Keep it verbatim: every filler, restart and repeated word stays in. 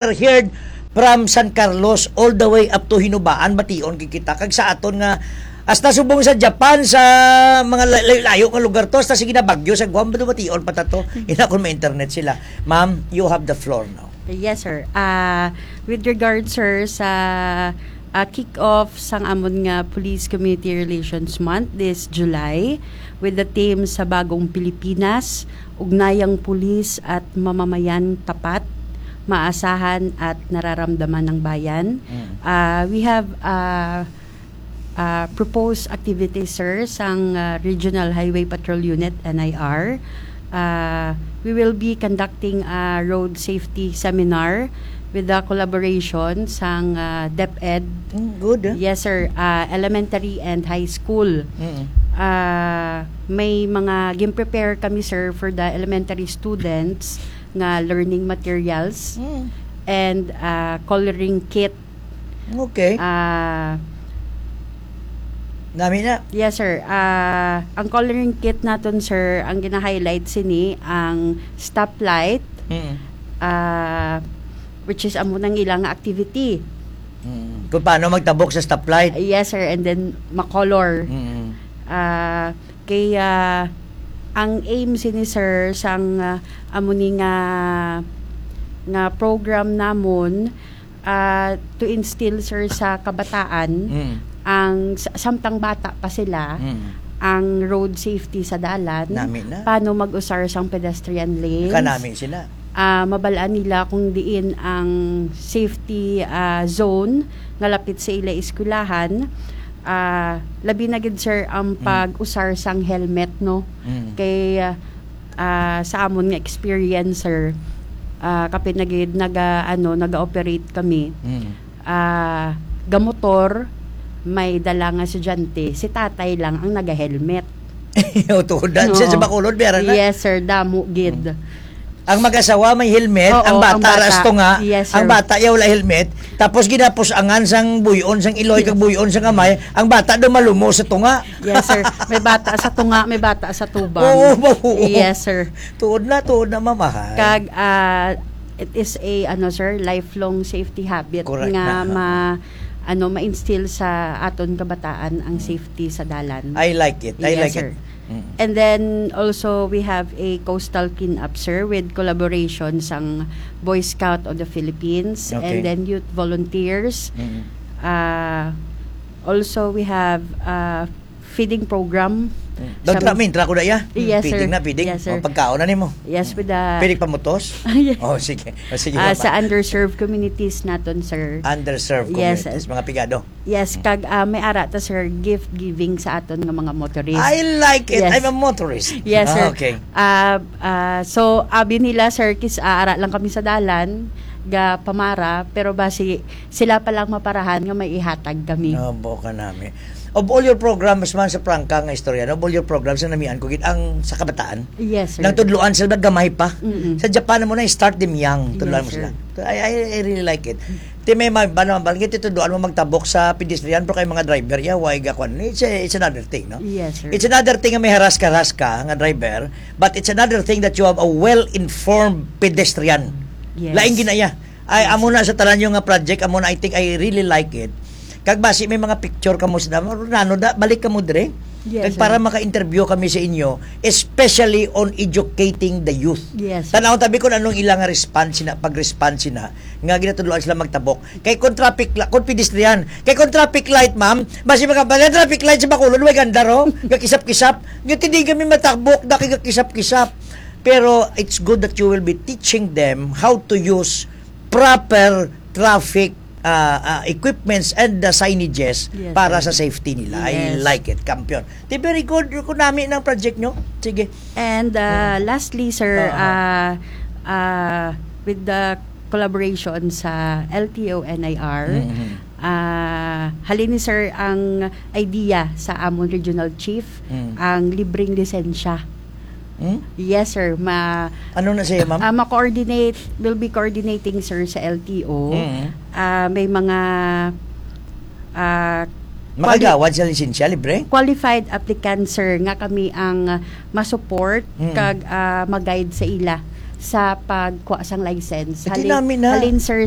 are heard from San Carlos all the way up to Hinubaan, bation gid kita. Kag sa aton nga, hasta subong sa Japan, sa mga la-, layo-layo nga lugar to, hasta sige na Baguio, sa Guam, bation pa ta to. Ina kung may internet sila. Ma'am, you have the floor now. Yes, sir. Ah, with regard, sir, sa, ah, kick-off sang amon nga Police Community Relations Month this July, with the theme sa Bagong Pilipinas, Ugnayang Pulis at Mamamayan Tapat, Maasahan at Nararamdaman ng Bayan. Mm. Ah, we have, ah, ah, proposed activities, sir, sang, ah, Regional Highway Patrol Unit, N I R. Ah, we will be conducting a road safety seminar with the collaboration sang, ah, DepEd. Mm, good, ah. Yes, sir. Ah, elementary and high school. Mm. Ah, may mga gin-prepare kami, sir, for the elementary students nga learning materials Mm. and, ah, coloring kit. Okay. Ah, Nami na. Yes, sir. Ah, ang coloring kit naton, sir, ang gina-highlight sini ang stoplight, Mm. ah, which is amo nang ilang activity. Mm. Kung paano magtabok sa stoplight. Yes, sir. And then, makolor. Mm. Ah, kay, ah, ang aim sini, sir, sang, ah, amo ni nga, nga program namon, ah, to instill, sir, sa kabataan, Mm. ang sa-, samtang bata pa sila, Mm. ang road safety sa dalan, Nami na. Paano mag-usar sang pedestrian lanes. Kanami sila. Ah, mabalaan nila kung diin ang safety, ah, zone nga lapit sa ila eskwelahan. Ah, labi na gid, sir, ang Mm. pag-usar sang helmet, no? Mm. Kay, ah, ah, sa amon nga experience, sir, ah, kapin na gid naga-, ano, naga-operate kami. Mm. Ah, gamotor, may dala nga estudyante, si tatay lang ang naga-helmet. O, tuod na. No. Sa, sa Bacolod, meron na. Yes, sir. Damo gid. Mm. Ang mag-asawa may helmet, Oo, ang bata ang bata. Ras tunga, Yes, ang sir. bata yaw wala helmet, tapos ginapusangan sang buyon sang iloy, Yes. kag buyon sang kamay, ang bata daw malumo sa tunga. Yes, sir. May bata sa tunga, may bata sa tubang. Oo, oo. Yes, sir. Tuod na, tuod na, mamahay. Kag, ah, it is a, ano, sir, lifelong safety habit Correct nga na. ma-, ano, ma-instill sa aton kabataan ang Mm. safety sa dalan. I like it. I Yes, like sir. it. Mm. And then also we have a coastal cleanup, sir, with collaboration sang Boy Scout of the Philippines Okay. and then youth volunteers. Mm. Ah, also we have, ah, feeding program. Mm. Don't Sa try me, try ko na iya. Mm, Yes, sir. feeding na, feeding. Yes, sir. O, pagkaon na nimo. Yes, Mm. with the Pwede pamutos? Yes. Oh, sige. Oh, sige, Ah, mama. sa underserved communities naton, sir. Underserved Yes, communities, sir. mga pigado. Yes, Mm. kag, ah, may ara ta, sir, gift giving sa aton nga mga motorist. I like it. Yes. I'm a motorist. Yes, Ah, sir. okay. Ah, ah, so, abi nila, sir, kis, ah, ara lang kami sa dalan, ga pamara, pero basi sila pa lang maparahan nga may ihatag kami. Abo ka nami. Of all your programs, man, sa prangka nga istorya, no? Of all your programs, ang namian ko gid ang sa kabataan. Yes, sir. Nang tudloan sila gamay pa. Mm-mm. Sa Japan mo na start them young, tudloan Yes, mo sila. sir. I, I, I really like it. Ti may ma-, ba naman, ba, gid tudloan mo magtabok sa pedestrian, pero kay mga driver, ya, why ga kwan? It's a, it's another thing, no? Yes, sir. It's another thing nga may haras-karas ka nga driver, but it's another thing that you have a well-informed pedestrian. Yes. Lain ginaya. Ay, Yes, amo sir. na sa tanan yung nga project, amo na, I think I really like it. Kag basi may mga picture kamo sa damo, nano da, balik kamo dire. Yes, Kag para sir. maka-interview kami sa inyo, especially on educating the youth. Yes, sir. Tanaw tabi kung anong ilang response na, pag-response na, nga ginatudloan sila magtabok. Kay kung traffic la-, kung pedestrian, kay kung traffic light, ma'am, basi mga, mga traffic light sa Bacolod, way ganda ro, gakisap-kisap. Yung hindi kami matabok, daki gakisap-kisap. Pero it's good that you will be teaching them how to use proper traffic, ah, ah, equipments and the signages Yes, para sir. sa safety nila. I Yes. like it, kampiyon. Di very good, kung nami ng project nyo. Sige. And, uh, Mm. lastly, sir, Ah, ah. uh, uh, with the collaboration sa L T O N I R, Mm-hmm. uh, halin ni sir ang idea sa amon regional chief, Mm. ang libreng lisensya. Hmm? Yes, sir. Ma-, Ano na siya, ma'am? ah, ma-coordinate, will be coordinating, sir, sa L T O. Mm. Ah, may mga, ah, Makagawad sa lisensya, libre? qualified applicants, sir, nga kami ang, ah, ma-support Mm. kag, ah, ma-guide sa ila sa pagkuha sang license. Eh, di Halin, nami na. Halin, sir,